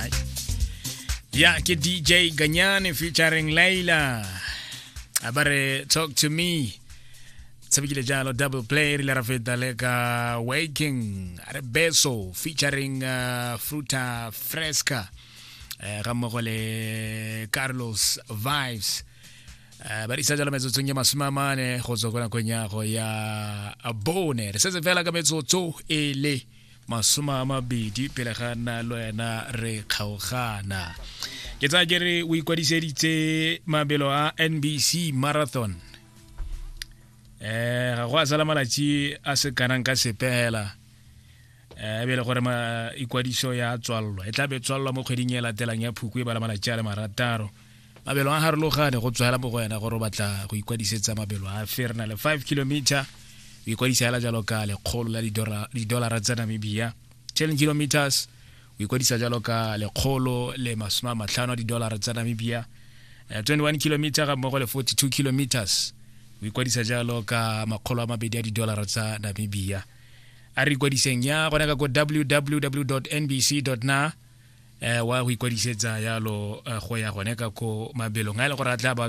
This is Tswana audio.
Right. Ya ke DJ Ganyane featuring Layla. A ba re "Talk to Me". Tshabekile jalo Double Play, re ile ra feta le ka Waking, a re Beso featuring Fruta Fresca, ga mmogo le Carlos Vibes. Ba disa jalo metsotsong ya 40 go tswa ko nakong ya go ya 4. Re setse fela ka metsotso e le 20 pele ga nna le wena re kgaogana. Ke tsaya ke re o ikwadiseditse mabelo a NBC Marathon. Ga go a sala malatsi a se kanang ka sepela, e be le gore ma ikwadiso ya tswallwa, e tla be tswallwa mo kgweding e latelang ya Phukwi, e bala malatsi a le 6. Mabelo a harologane, go tswela mo go wena gore o batla go ikwadisetsa mabelo a fe. Re na le 5 kilometer, o ikwadisa hela jalo ka 100 la didolara tsa Namibia. 10 kilometers, o ikwadisa jalo ka 150 a didolara tsa Namibia. 21 kilometer ga mmogo le 42 kilometers, o ikwadisa jalo ka 200 a didolara tsa Namibia. A re ikwadiseng ya gone ka ko www nbc na, wa go ikwadisetsa yalo, go ya gone ka ko mabelong a e le gore a tla ba.